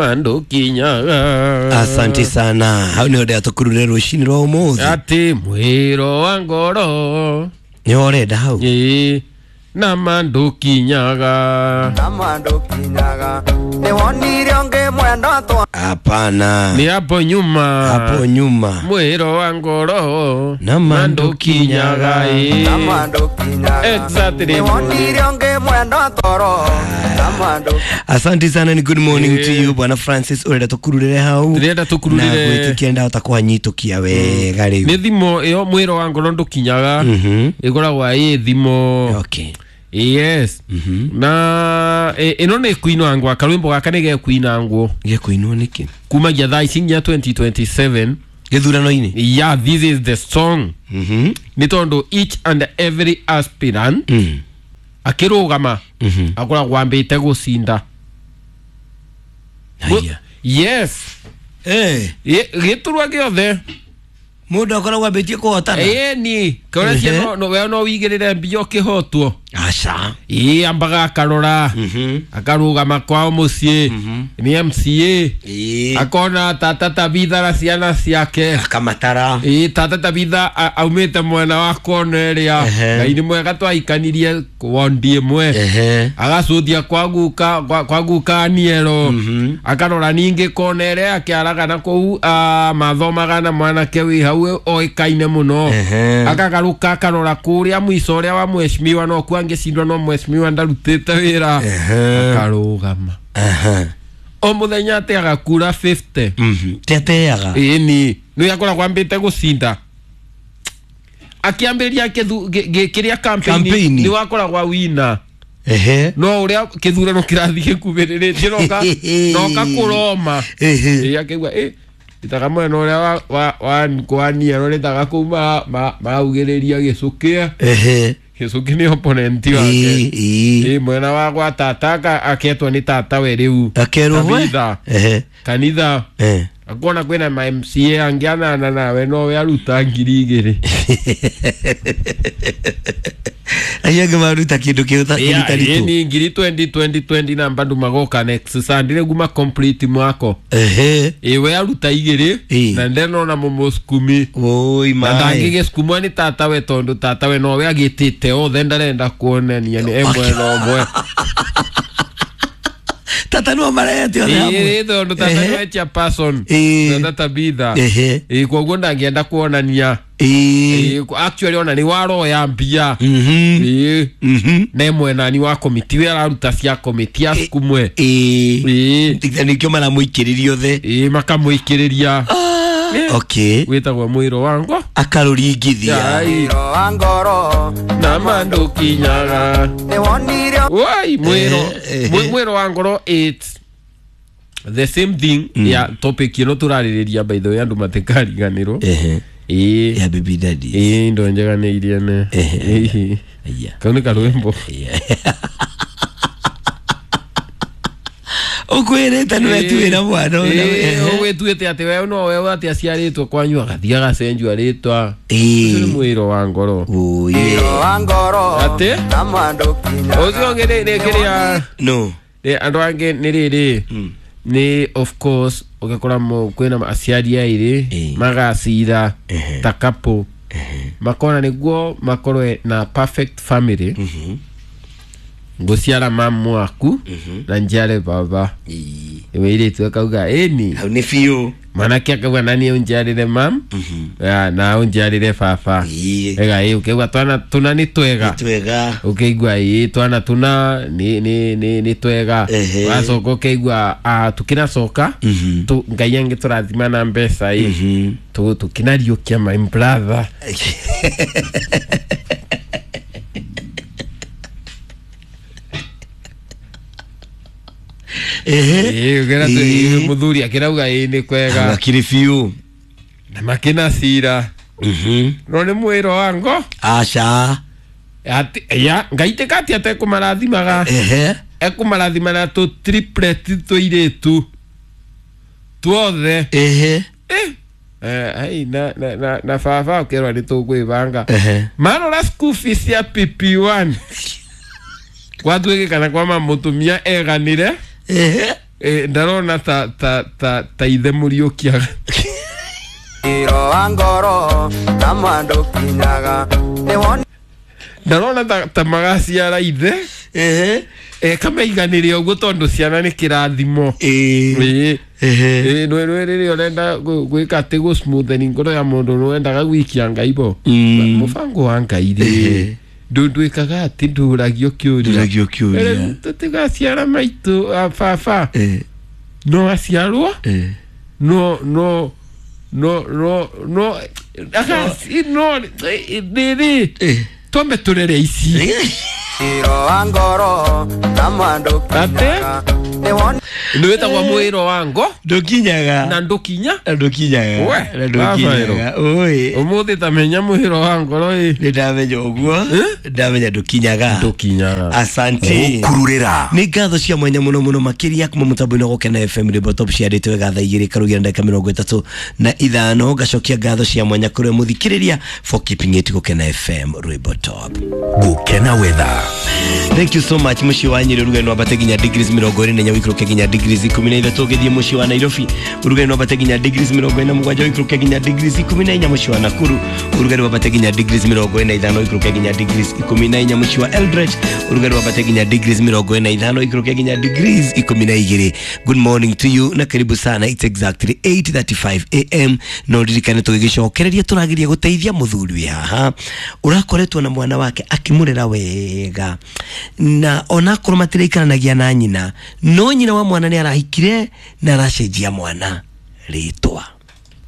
Mandukinyaga. Asante sana. Hau nä ndä atå rå cinä rwa å må thä. Ati mwiro wa ngoro. Nä orenda hau. Ĩ, na mandukinyaga. Na mandukinyaga nä wonire å mwenda twa. Hapana. Ni hapo nyuma. Hapo nyuma. Mwiro wa ngoro na mandukinyaga. Na mandukinyaga. Exactly. Nä wonire å mwenda toro na mandu. Asante sana, ni good morning to you Bwana Francis, urenda tukururire hau. Ndĩrenda tũkururire. Na gwĩtĩkia ndahota kũhanyitũkia wega rĩu. Nĩ thimo ĩyo mwiro wa ngoro ndũkinyaga. Ĩkoragwo ĩ thimo. Okay. Yes. Na ĩno nĩ kuinwangwa, karwĩmbo gaka nĩ gekuinangwo. Gekuinwo nĩkĩ? Kumagia thaa ici nginya 2027. Gĩthurano-inĩ? Yeah, this is the song. Nĩ tondũ each and every aspirant akĩrũgama akoragwo ambĩte gũcinda. Haya. Yes. Eh. Gĩturwa gĩothe. Mũndũ akoragwo ambĩtie kũhotana. Ĩni, kĩoria cia no we no wigĩrĩre mbia ũkĩhotwo. Aca. Ĩ, ambaga akarora. Akarũgama kwao mũciĩ. Nĩ MCA. Ĩ. Akona tata Tabitha na ciana ciake. Akamatara. Ĩ, tata Tabitha aumĩte mwena wa kona ĩrĩa. Ngai nĩ mwega twaikanirie wondi ĩmwe. Agacuthia kwa guka, kwa guka Aniero. Akarora ningĩ kona ĩrĩa akĩaraga na kũu, mathomaga na mwanake wĩ hau oĩkaine mũno. Akagarũka akarora kũrĩa mũico ũrĩa wa mheshimiwa no kuo angĩcindwa no mheshimiwa ndarutĩte wĩra. Akarũgama. O mũthenya ateaga kura 50. Teateaga. Ĩni, nĩ akoragwo ambĩte gũcinda. Akĩambĩrĩria kĩrĩa campaign nĩ wakoragwo wina. No ũrĩa kĩthurano kĩrathiĩ gĩkuhĩrĩrĩtie noka kũroma. Ĩ, akĩigua, ĩ, ĩtaga mwena ũrĩa wa Aniero nĩtaga kũu maraugĩrĩria gĩcũkĩ. Gĩcũkĩ nĩ opponent wake. Ĩ, mwena wa gwa tata aketwo nĩ tata we rĩu. Akerwo we? Kanitha. Kanitha. Akuona kwĩna ma MCA angĩ anana nawe nowe aruta 2,000. Acio angĩ maruta kĩndũ kĩrutaritũ. Ni ngiri 20 20 20 na bado magoka next Sunday nĩguo ma complete mwako. Ĩ, we aruta 2 na ndenona mũmũcukumi. Oi, Na mai. ndangĩgĩcukumwo nĩ tata we tondũ tata we nowe agĩtĩte othe ndarenda kuonania nĩ ĩmwe na ũmwe. Tata no marete othe hamwe. Ĩ, tondũ tata nĩwe chairperson. Tata Tabitha. Ĩ, koguo ndangĩenda kuonania. Ĩ, actually ona nĩ waroya mbia. Ĩ. Na mwenani wa komiti we araruta cia komiti acukumwe. Ĩ. Ĩ. Nĩkĩo maramũikĩrĩria othe. Ĩ, makamũikĩrĩria. Okay. Wĩtagwo mwĩro wa ngo. Akarũringithia. Mwĩro wa ngoro na mandukinyaga. Nĩ wonire. Wai, mwĩro. Mwĩro wa ngoro it's the same thing ya topic ĩno tũrarĩrĩria by the way andũ matikariganĩrwo. Ĩ. Ya baby daddy. Ĩ, indo njega nĩ iria ne. Ĩ. Kau nĩ karwĩmbo. Ũkwĩrĩte nĩ wetuĩra mwana ũrĩa. Ũgwĩtuĩte atĩ we no we atĩ aciarĩtwo kwanyu agathiĩ agacenjio rĩtwa. Ũcio nĩ mwĩro wa ngoro. Mwĩro wa ngoro Atĩ? na mandukinyaga. Ũcio ũngĩ nĩ kĩrĩa. No. Nĩ andũ angĩ nĩ rĩrĩ. Nĩ of course ũgakora kwĩna aciari airĩ magacira ta couple. Makona nĩguo makorwe na perfect family. Ngũciara mamu waku na njiare baba. Ĩwĩirĩtu akauga ĩni. Hau nĩ biũ. Mwanake akauga nani ũnjiarĩre mam na ũnjiarĩre baba. Ega ĩ, ũkĩigua twana tũna nĩ twega. Nĩ twega. Ũkĩigua ĩ twana tũna nĩ twega. Wacoka ũkĩigua tũkĩnacoka Ngai angĩtũrathima na mbeca ĩ tũkĩnariũkia my brother. Ĩ, mũthuri akĩrauga ĩ nĩ kwega. Akĩrĩ biũ. Na makĩna cira. No nĩ mwĩro wa ngo. Aca. Ati, ya, Ngai tĩka atĩ atekũmarathimaga. Ekũmarathima na tũ triplet tũirĩtu. Tuothe. Ai, na baba ũkerwo nĩ tũkwĩbanga. Marora school fees ya PP1. Gwatuĩkĩkana kwa mamũtumia eganire. Ndarona ta ta ta ta ithe Mũriũkia. Iro wa ngoro na mwandũkinyaga nĩ woni. Ndarona ta magaciara ithe. Ehe. Kamaiganĩre ũguo tondũ ciana nĩ kĩrathimo. Ĩĩ. Ĩĩ. Ehe. Ĩĩ, nĩ rĩrĩa ũrenda gwĩka atĩ gũ-smootheni ngoro ya mũndũ nĩ wendaga gũikia Ngai bo. Mũbango wa Ngai rĩ, ndwĩkaga atĩ ndũragio kĩũria. Ndũragio kĩũria. Tũtigaciara maitũ a baba. No aciarwo. No no no no no no rĩrĩ twambe tũrere ici. Iro wa ngoro na mwandũkinyaga nĩ woni. Nĩ wĩtagwo mwĩro wa ngo Ndũkinyaga. na ndũkinya. Na ndũkinyaga. We, Na ndũkinyaga. Oi. Ũmũthĩ tamenya mwĩro wa ngoro ĩ. Nĩ ndamenya ũguo. Ndamenya ndũkinyaga. Ndũkinyaga. Asante. Gũkururĩra. Nĩ ngatho cia mwanya mũno mũno makĩria kuma mũtambo-inĩ wa Gũkena FM Rwĩmbo Top ciandĩtwo wega thaa igĩrĩ karugia na ndagĩka 35. Ngacokia ngatho cia mwanya kũrĩ mũthikĩrĩria for keeping it Gũkena FM Rwĩmbo Top. Gũkena weather. Thank you so much. Mũciĩ wa Nyĩrĩ ũrugarĩ no wambate nginya degrees 24, ũikũrũke nginya degrees 13. Ũgĩthiĩ mũciĩ wa Nairobi ũrugarĩ no wambate nginya degrees 47, ũikũrũke nginya degrees 14. Mũciĩ wa Nakuru ũrugarĩ wambate nginya degrees 45, ũikũrũke nginya degrees 14. Mũciĩ wa Eldoret ũrugarĩ wambate nginya degrees 45, ũikũrũke nginya degrees 12. Good morning to you na karibu sana. It's exactly 8:35 am. No ririkane tũgĩgĩcokereria tũrageria gũteithia mũthuri wĩ haha ũrakoretwo na mwana wake akĩmũrera wega, na onakorwo matiraikaranagia na nyina, no nyina wa mwana nĩ arahikire na aracenjia mwana rĩtwa.